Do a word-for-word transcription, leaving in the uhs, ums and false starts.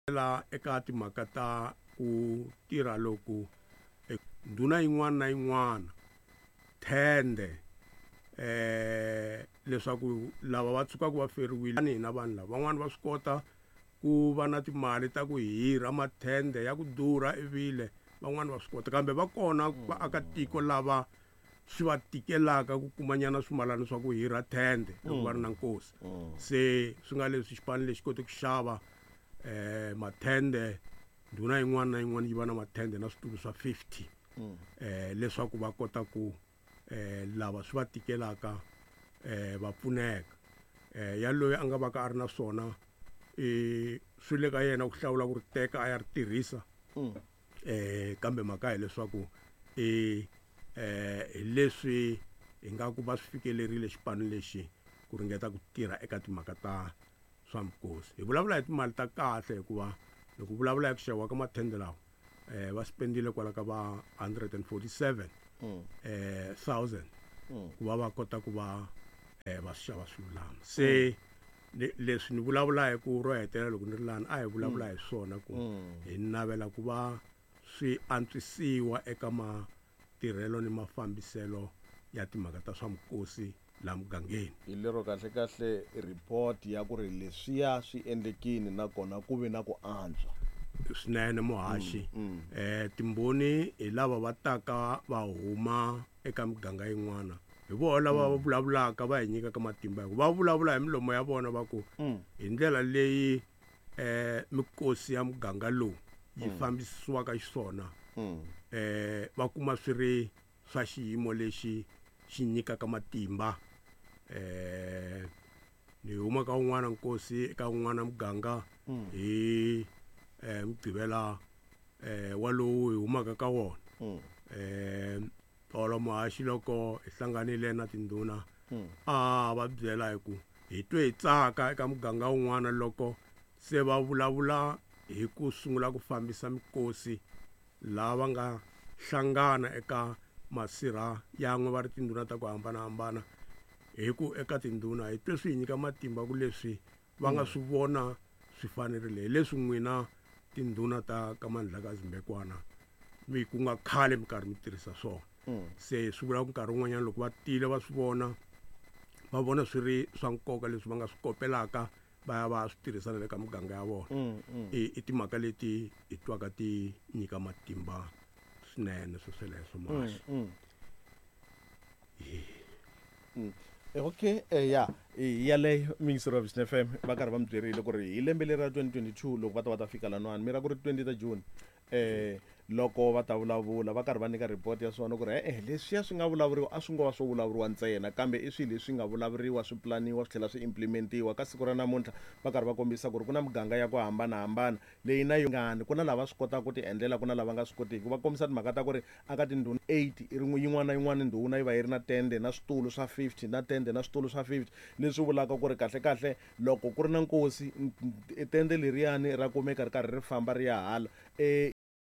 La eka timhaka ta ku tirha loku ndhuna yin'wana na yin'wana thende eh leswaku lava va tshukaka va feriwile hina vanhu lava van'wani va swi kota ku va na timali ta ku hirha mathende ya ku durha ivile van'wani va swi kota kambe va kona vaakatiko lava swi va tikelaka ku kumanyana swimalana swa ku hirha thende loko va ri na nkosi. Se swi nga leswi xipano lexi kote ku xava eh mathende, ndhuna yin'wana na yin'wana yi va na mathende na switulu swa fifty eh leswaku va kota ku eh lava swi va tikelaka eh va pfuneka. Eh ya loyi a nga va ka a ri na swona i swi le ka yena ku hlawula ku ri teka a ya ri tirhisa. Eh kambe mhaka hileswaku i eh hi leswi hi nga ku va swi fikelerile xipano lexi ku ringeta ku tirha eka timhaka ta swa mikosi. Hi vulavula hi timali ta kahle hikuva loko vulavula hi ku xaviwa ka mathende lawa eh va spendile kwala ka va hundred and forty-seven eh thousand ku va va kota ku va eh va xava swilulama. Se leswi ni vulavula hi ku ro hetelela loko ni ri lani a hi vulavula hi swona ku hi navela ku va swi antswisiwa eka matirhelo ni mafambiselo ya timhaka ta swa mikosi la mugangeni. Hi lero kahle kahle report ya ku ri leswiya swi endlekini nakona ku ve na ku antswa swinene muhaxi. Eh timbhoni hi lava va taka va huma eka miganga yin'wana hi vona lava va vulavulaka va hi nyikaka matimba hikuva va vulavula hi milomo ya vona va ku hi ndlela leyi eh mikosi ya muganga lowu yi fambisiwaka xiswona eh va kuma swi ri swa xiyimo lexi xi nyikaka matimba. Eh ni huma ka un'wana nkosi eka un'wana muganga hi eh Mugqivela eh walowu hi humaka ka wona. Eh tolo muhaxi loko hi hlanganile na tindhuna a va byela hi ku hi twe hi tsaka eka muganga wun'wana loko se va vulavula hi ku sungula ku fambisa mikosi lava nga hlangana eka masirha yan'we va ri tindhuna ta ku hambanahambana. Hi ku eka tindhuna hi twe swi hi nyika matimba ku leswi va nga swi vona swi fanerile hi leswi n'wina tindhuna ta ka Mandlakazi Mbekwana mi ku nga khale mi karhi mi tirhisa swona. Se swi vula ku nkarhi wun'wanyana loko va tile va swi vona va vona swi ri swa nkoka leswi va nga swi kopelaka va ya va swi tirhisa na le ka muganga ya vona. I i timhaka leti hi twaka ti nyika matimba swinene swo sweleswo muhaxi. Okay, eh ya yaleyo Mixer of F M va karhi va mi byerile ku ri hi lembe leri ra twenty twenty-two loko va ta va ta fika lanwani mi ra ku ri twenty ta June eh loko va ta vulavula va karhi va nyika report ya swona ku ri eh leswiya swi nga vulavuriwa a swi ngo va swo vulavuriwa ntsena kambe i swilo leswi nga vulavuriwa swi planiwa swi tlhela swi implementiwa ka siku ra namuntlha va karhi va kombisa ku ri ku na miganga ya ku hambanahambana leyi na yingani ku na lava swi kotaka ku ti endlela ku na lava nga swi kotiki va kombisa timhaka ta ku ri aka tindhuna eight i rin'we yin'wana na yin'wana ndhuna yi va yi ri na tende na switulu swa fifty na tende na switulu swa fifty leswi vulaka ku ri kahle kahle loko ku ri na nkosi tende leriyani ra kumeka ri karhi ri famba ri ya hala e